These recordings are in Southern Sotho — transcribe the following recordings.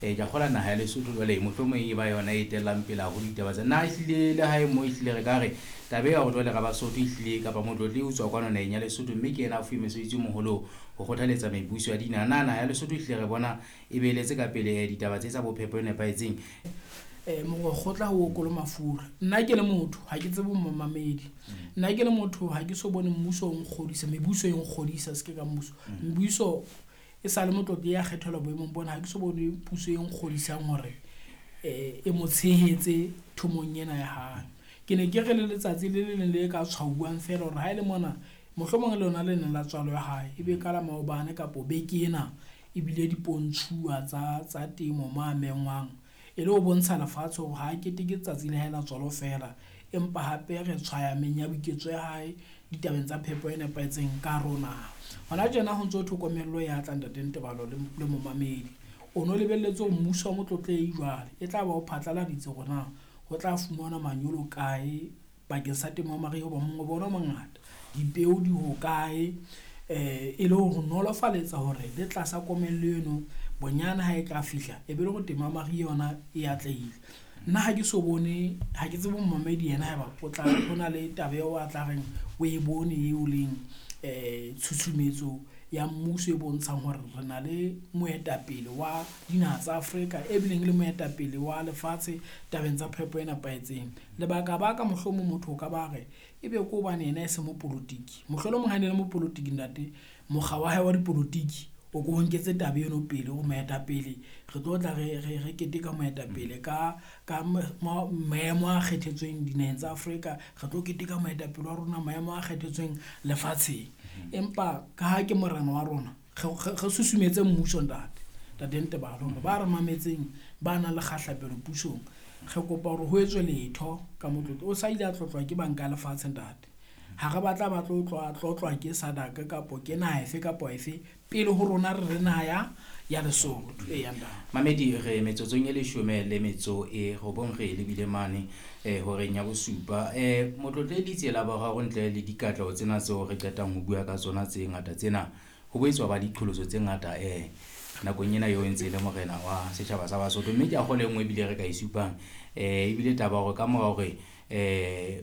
Ke a kgolwa naha ya Lesotho jwale mohlomong e ba yona e etellang pele haholo ditaba tsa na ehlile le hae mo ehlile re ka re taba ya hore jwale ra Basotho ehlile kapa motlotli o tswa kwano naheng ya Lesotho, mme ke yena a fuwe mosebetsi o moholo ho kgothaletsa mebuso ya dinaha. Na naha ya Lesotho ehlile re bona e beeletse ka pele ditaba tse tsa bophepo e nepahetseng? Mokgotla ho okolo mafura. Nna ke le motho ha ke tsebe momamedi. Nna ke le motho ha ke so bone mmuso o nkgodisa, mebuso e nkgodisa se ke ka mmuso. Mmuso e sa le motlotli ya kgethelwa boemong bona, ha ke so bone puso e nkgodisang hore e mo tshehetse thomong ena ya hae. Ke ne ke re le letsatsi le le leng le ka tshwauwang feela hore ha e le mona mohlomong le lona le neng la tswalo ya hae, ebe ka la maobane kapo beke ena ebile dipontshuwa tsa temo mo a mengwang e le ho bontsha lefatshe hore ha keteke tsatsi la hae la tswalo feela, empa hape re tshwaya menyabuketso ya hae ditabeng tsa phepo e nepahetseng ka rona. Hona tjena ho ntso tlhokomello ya tla ntate Ntebalo le momamedi. O no lebelletse hore mmuso wa Motlotlehi jwale e tla ba o phatlaladitse hore na ho tla fumanwa manyolo kae bakeng sa temo ya mariha hoba mongobo ona o mongata, dipeo di hokae, e le ho nolofaletsa hore le tlasa komello eno bonyane ha e ka fihla e be le hore temo ya mariha yona e atlehile. Nna ha ke so bone, ha ke tsebe momamedi yena haeba o tla ho na le taba eo a tla reng o e bone eo leng tshusumetso ya mmuso e bontshang hore re na le moetapele wa dinaha tsa Afrika e bileng le moetapele wa lefatshe tabeng tsa phepo e nepahetseng. Lebaka baka mohlomong motho o ka ba re ebe ke hobane yena e se mopolotiki, mohlolomong ha ne le mopolotiki ntate, mokga wa hae wa dipolotiki o ko nketse taba eno pele hore moetapele re tlo tla re keteka moetapele ka maemo a kgethetsweng dinaheng tsa Afrika, re tlo keteka moetapele wa rona maemo a kgethetsweng lefatsheng. Empa ka ha ke morena wa rona, re susumetse mmuso ntate, ntate Ntebalo hore ba re mametseng ba nang le kgahlapelo pusong, re kopa hore ho etswe letho ka motlotlo. O sa ile a tlotlwa ke banka ya lefatshe ntate, ha re batla ba tlo tlotlwa ke SADC kapo ke naha efe kapo efe pele ho rona re re naha ya Lesotho. Eya ntate. Mamedi, re metsotsong e 19 re lebile mane horeng ya bosupa. Motlotlehi Letsie la boraro ntle le dikatleho tsena tseo re qetang ho bua ka tsona tse ngata tsena, ho boetse ba diqholotso tse ngata nakong ena eo e ntse e le morena wa setjhaba sa Basotho, mme ke a kgolwa e nngwe ebile re ka e supang ebile taba hore ka mora hore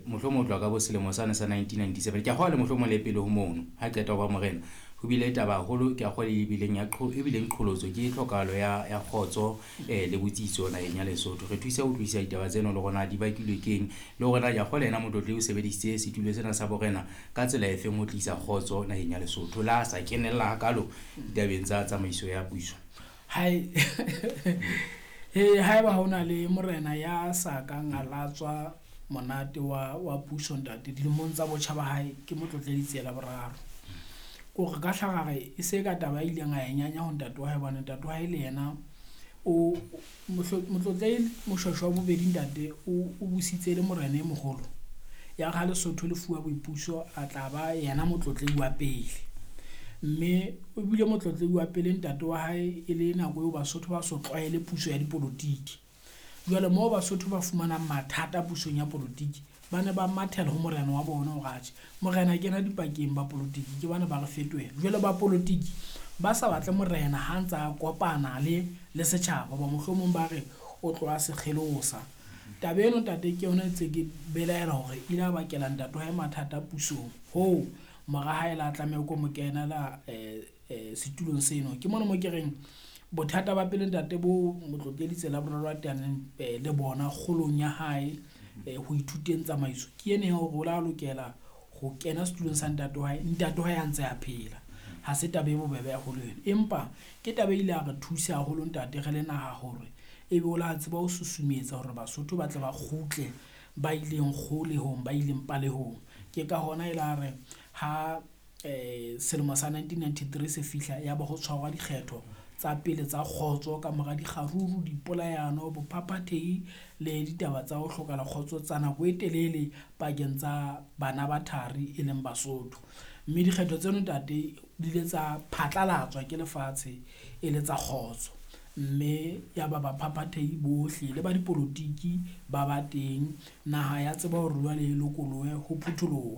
mohlomong ho tloha ka bo selemo sane sa 1997, ke a kgolwa le mohlomong le pele ho mono ha qeta ho ba morena, ho bile taba haholo ke a kgolwa e bileng qholotso ke tlhokahalo ya kgotso le botsitso naheng ya Lesotho. Re thusa ho utlwisisa ditaba tseno le hore na di bakilwe keng, le hore na ke a kgolwa yena motlotlehi o sebedisitse setulo sena sa borena ka tsela efeng ho tlisa kgotso naheng ya Lesotho, le ha sa kenella hakalo ditabeng tsa tsamaiso ya puso. Hae haeba ho na le morena ya sa kang a latswa monate wa puso ntate dilemong tsa botjha ba hae, ke Motlotlehi Letsie la boraro. Ko re ka hlaga re e se ka taba e ileng a e nyanya ho ntate wa hae, hobane ntate wa hae le yena o Motlotlehi Moshweshwe wa bobedi ntate o busitse le morena e moholo. Ya re ha Lesotho le fuwa boipuso a tla ba yena motlotlehi wa pele, mme o bile motlotlehi wa pele ntate wa hae e le nako eo Basotho ba so tlwaele puso ya dipolotiki. Jwale moo Basotho ba fumanang mathata pusong ya polotiki, ba ne ba mathela ho morena wa bona hore atjhe morena kena dipakeng ba polotiki ke bana ba re fetohela. Jwale ba polotiki ba sa batle morena ha ntsa kopana le setjhaba, hoba mohlomong ba re o tloha sekgelosa. Taba eno ntate ke yona e ntse ke belaela hore ile a bakela ntate wa hae mathata pusong, hoo mora hae la tlameha ko mo kenela setulong seno. Ke mona mo ke reng bothata ba pele ntate bo Motlotlehi Letsie la boraro a teaneng le bona kgolong ya hae ho ithuteng tsamaiso, ke ene ya hore o la lokela ho kena setulong sa ntate wa hae, ntate wa hae a ntse a phela. Ha se taba e bobebe haholo eno, empa ke taba e ile ya re thusa haholo ntate re le naha hore ebe o la tseba ho susumetsa hore Basotho ba tle ba kgutle ba ileng kgolehong, ba ileng palehong. Ke ka hona e la re ha selemo sa 1993 se fihla, ya ba ho tshwarwa dikgetho tsa pele tsa kgotso ka mora dikgaruru, dipolayano, bophaphathehi le ditaba tsa ho hlokala kgotso tsa nako e telele pakeng tsa bana ba thari e leng Basotho. Mme dikgetho tseno ntate di ile tsa phatlalatswa ke lefatshe e le tsa kgotso, mme ya ba baphaphathehi bohle le ba dipolotiki ba ba teng, naha ya tseba hore jwale e lokolohe ho phutholohe.